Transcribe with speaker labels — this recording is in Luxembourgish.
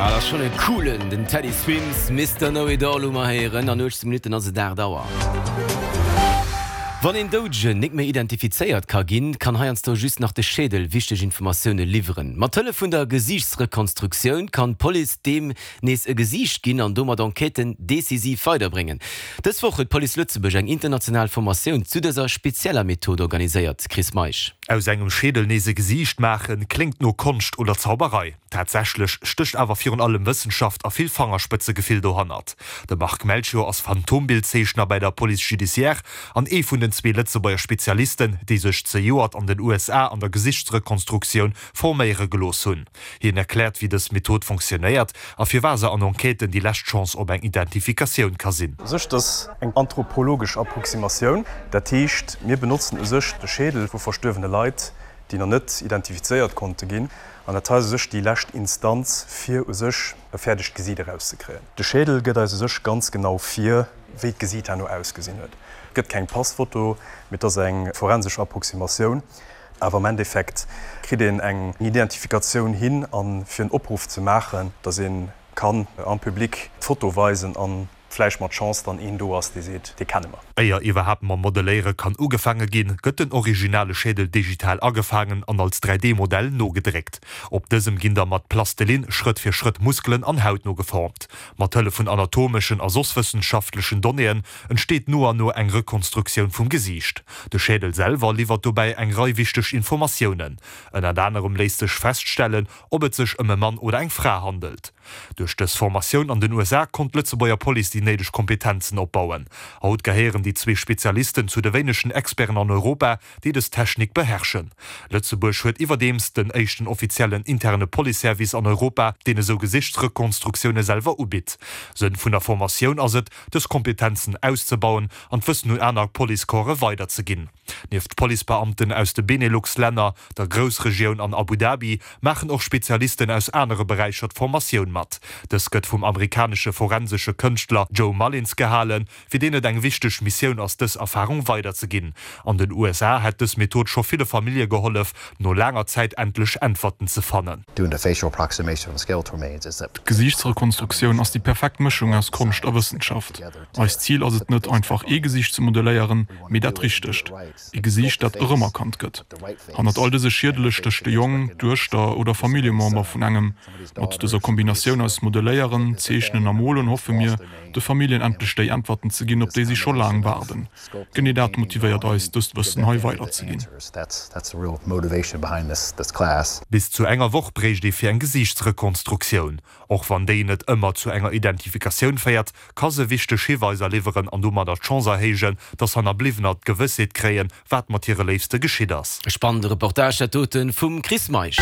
Speaker 1: Ah, dat ass schonn e coolen, den Teddy Swims, Mister Know It All hu mer héieren. An 18 Minutten ass et 8 Auer. Wann een Doudegen nik méi identifizéiert ka ginn, kann heiansdo just nach de Schädel wichteg Informatioune liwweren. Mat Hëllef vun der Gesiichtsrekonstruktioun kann d'Police deem nees e Gesiicht ginn an domat Enquêten decisiv weiderbréngen. Dës Woch huet d'Police Lëtzebuerg eng international Formatioun zu dëser spezieller Method organiséiert. Chris Meisch.
Speaker 2: Aus engem Schädel nees e Gesiicht maachen, kléngt no Konscht oder Zauberei. Tatsächlech stécht awer virun allem Wëssenschaft a vill Fangerspëtzegefill dohannert. De Marc Melchior ass Phantombildzeechner bäi der Police judiciaire an ee vun den zwee Lëtzebuerger Spezialisten, déi sech zejoert an den USA an der Gesichtsrekonstruktioun forméiere gelooss hunn. Hien erkläert, wéi dës Method fonctionnéiert a firwat se an Enquêten déi lescht Chance op eng Identifikatioun ka sinn.
Speaker 3: U sech, dat ass eng anthropologesch Approximatioun. Dat heescht, mir benotzen u sech de Schädel vu verstuerwene Leit, déi nach net identifizéiert konnte ginn. An dat hei ass u sech déi lescht Instanz, fir u sech e fäerdegt Gesiit erauszekréien. De Schädel gëtt eis u sech ganz genau vir, wéi d'Gesiit herno ausgesinn huet. Et gëtt keng Passfoto, mee et ass eng forensesch Approximatioun. Awer am Endeffekt kritt een eng Identifikatioun hin a fir en Opruff ze maachen, datt ee kann am Public d'Foto weisen a vläicht mat Chance dann een do ass, dee seet, dee kenne mer.
Speaker 2: Éier iwwerhaapt mam Modelléiere kann ugefaange ginn, gëtt den originale Schädel digital agefaangen an als 3D-Modell nogedréckt. Op dësem ginn da mat Plastelin Schrëtt fir Schrëtt Muskelen an Haut nogeformt. Mat Hëllef vun anatomeschen a soss wëssenschaftlechen Donnéeën entsteet no an no eng Rekonstruktioun vum Gesiicht. De Schädel selwer liwwert dobäi eng Rei wichteg Informatiounen. Ënnert anerem léisst sech feststellen, ob et sech ëm e Mann oder eng Fra handelt. Duerch dës Formatioun an den USA konnt d'Lëtzebuerger Police déi néideg Kompetenzen opbauen. Haut gehéieren déi zwee Spezialisten zu de wéinegen Experten an Europa, déi dës Technik beherrschen. Lëtzebuerg huet iwwerdeems den éischten offiziellen interne Policeservice an Europa, deen esou Gesichtsrekonstruktioune selwer ubitt. Sënn vun der Formatioun ass et, dës Kompetenzen auszebauen an d'Wëssen un aner Policecorpse weiderzeginn. Nieft Policebeamten aus de Benelux-Länner, der Groussregioun an Abu Dhabi maachen och Spezialisten aus anere Beräicher d'Formatioun mat. Dës gëtt vum amerikanesche forensesche Kënschtler Joe Mullins gehalen, fir deen et eng wichteg Missioun ass, dës Erfarung weiderzeginn. An den USA hätt dës Method scho ville Famillje gehollef, no laanger Zäit endlech Äntwerten ze fannen.
Speaker 4: D'Gesiichtsrekonstruktioun ass déi perfekt Mëschung aus Konscht a Wëssenschaft. Eist Zil ass et net, einfach ee Gesiicht ze modelléieren, mee dat richtegt. Ee Gesiicht, dat erëmerkannt gëtt. Hannert all dëse Schiedele stécht de Jong, d'Duechter oder Familljemember vun engem. Mat dëser Kombinatioun aus Modelléieren, Zeechnen a Molen hoffe mir, de Familljen endlech déi Äntwerten ze ginn, op déi si scho laang waarden. Genee dat motivéiert eis, dëst Wëssen hei weiderzeginn.
Speaker 2: Bis zu enger Woch bréicht ee fir eng Gesiichtsrekonstruktioun. Och wann déi net ëmmer zu enger Identifikatioun féiert, ka se wichteg Hiweiser liwweren an domadder d'Chance erhéijen, dass Hannerbliwwener d'Gewëssheet kréien, wat mat hire Léifste geschitt ass.
Speaker 1: E spannende Reportage dat doten vum Chris Meisch.